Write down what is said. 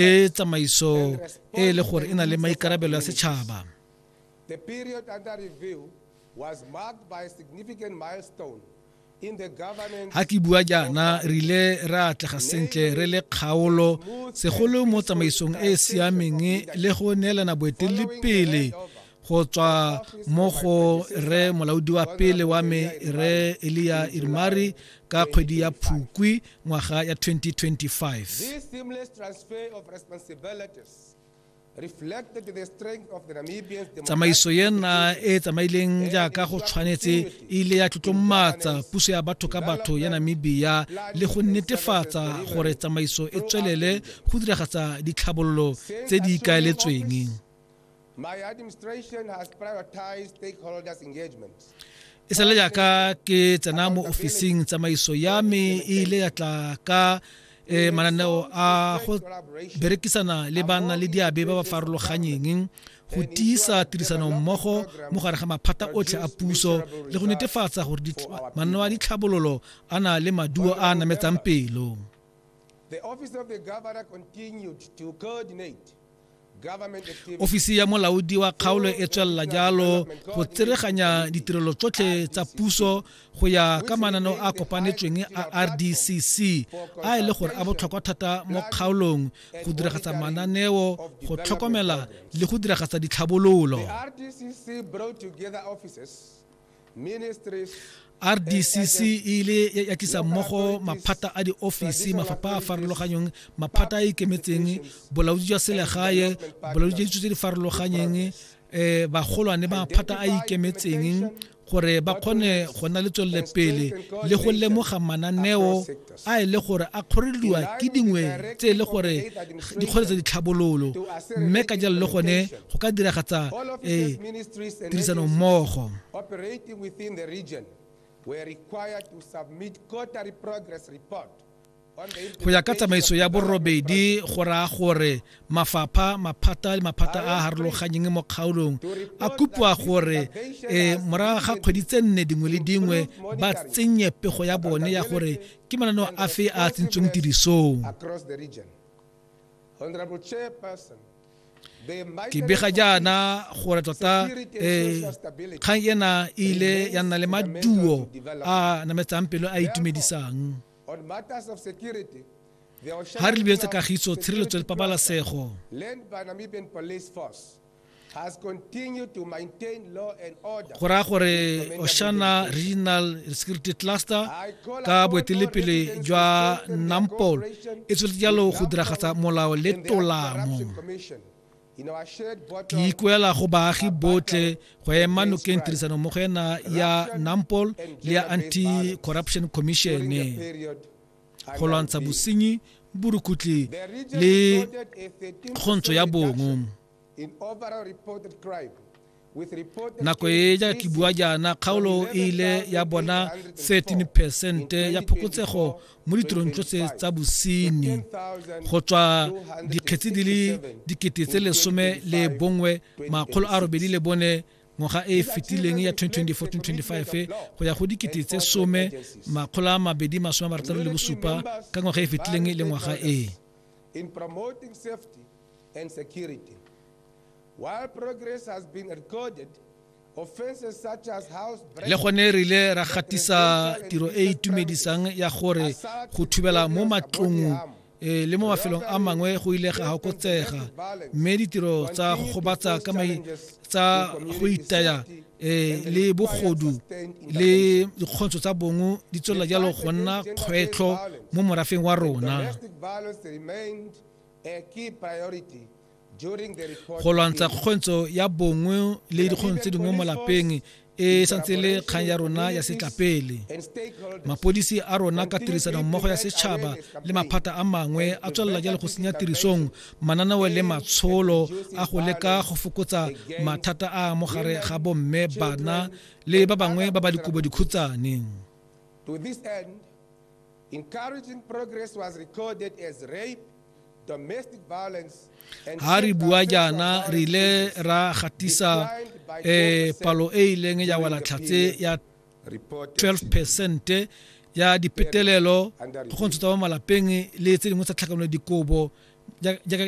E tsamaiso e le gore e na le maikarabelo ya setšhaba. The period under review was marked by a significant milestone in the governance Ha ke bua jaana, re ile ra atlega sentle re le kgaolo, segolo mo tsamaisong e e siameng le go neelana boeteledipele go tswa mo go Rre Molaodi wa pele wa me Rre Elia Irimari ka kgwedi ya Phukwi ngwaga ya 2025. This seamless transfer of responsibilities reflected the strength of the Namibians' Tsamaiso ena e e tsamaileng jaaka go tshwanetse e ile ya tlotlomatsa puso ya batho ka batho ya Namibia le go netefatsa gore tsamaiso e tswelele go diragatsa ditlhabololo tse di ikaeletsweng. My administration has prioritized stakeholders engagement. E sale jaaka ke tsena mo ofising, tsamaiso ya me e ile ya tla ka mananeo a go berekisana le ba nna le diabe ba ba farologanyeng go tiisa tirisano mmogo mo gare ga maphata otlhe a puso le go netefatsa gore mananeo a ditlhabololo a na le maduo a a nametsang pelo. The office of the governor continued to coordinate Ofisi ya molaodi wa kgaolo e tswelela jalo go tsereganya ditirelo tsotlhe tsa puso go ya ka mananeo a kopanetsweng a RDCC a e le gore a botlhokwa thata mo kgaolong go diragatsa mananeo, go tlhokomela le go diragatsa ditlhabololo. RDCC e ile ya tlisa mmogo maphata a diofisi, mafapha a farologanyong, maphata a ikemetseng, bolaodi jwa selegae, bolaodi jwa ditso tse di farologanyeng, bagolwane ba maphata a ikemetseng gore ba kgone go nna le tswelele pele le go lemoga mananeo a e le gore a kgorelediwa ke dingwe tse e le gore di kgoreletsa ditlhabololo, mme ka jalo le gone go ka diragatsa tirisano mmogo. Go ya ka tsamaiso ya borobedi go raya gore mafapha, maphata le maphata a a harologanyeng mo kgaolong a kopiwa gore morago ga kgwedi tse nne dingwe le dingwe ba tsenye pego ya bone ya gore ke mananeo afe a a tsentsweng tirisong. Ke bega jaana gore tota kgang ena e ile ya nna le maduo a nametsang pelo a itumedisang. Ha re lebeletse kagiso, tshireletso le pabalasego, go raya gore Oshana Regional Security Cluster ka boeteledipele jwa Nampol e tsweletse jalo go diragatsa molao le tolamo. Ke ikuela go baagi botlhe go ema nokeng tirisanommogo ena ya Nampol le ya Anti-Corruption Commission go lwantsha bosenyi, borukhutlhi le kgontsho ya bong. Nako e jaaka ke bua jaana, kgaolo e ile ya bona 13 percent ya phokotsego mo ditirong tsotlhe tsa bosenyi go tswa dikgetsi di le 18,804 ngwaga e e fetileng ya 2024-2025 go ya go 10,267 ka ngwaga e e fetileng le ngwaga e. In promoting safety and security. While progress has been recorded, offenses such as house Le gone re ile ra gatisa tiro e e itumedisang ya gore go thubela mo matlong le mo mafelong a mangwe go ile ga okotsega, mme ditiro tsa go gobatsa ka mai tsa go itaya le bogodu le dikgontsho tsa bong di tswelela jalo go nna kgwetlho mo morafeng wa rona. Go lwantsha kgokgontsho ya bongwe le dikgontsho tse dingwe mo lapeng e santse le kgang ya rona ya setlapele. Mapodisi a rona ka tirisano mmogo ya setšhaba le maphata a mangwe a tswelela jalo go senya tirisong mananeo le matsholo a go leka go fokotsa mathata a mo gare ga bomme, bana le ba bangwe ba ba dikobo dikhutsane. To this end, encouraging progress was recorded as rape, domestic violence and Ha re bua jaana re ile ra gatisa palo e ileng ya wela tlhatse ya 12% ya dipetelelo, kgokgontsho tsa mo malapeng le tse dingwe tsa tlhakanelo dikobo Jaaka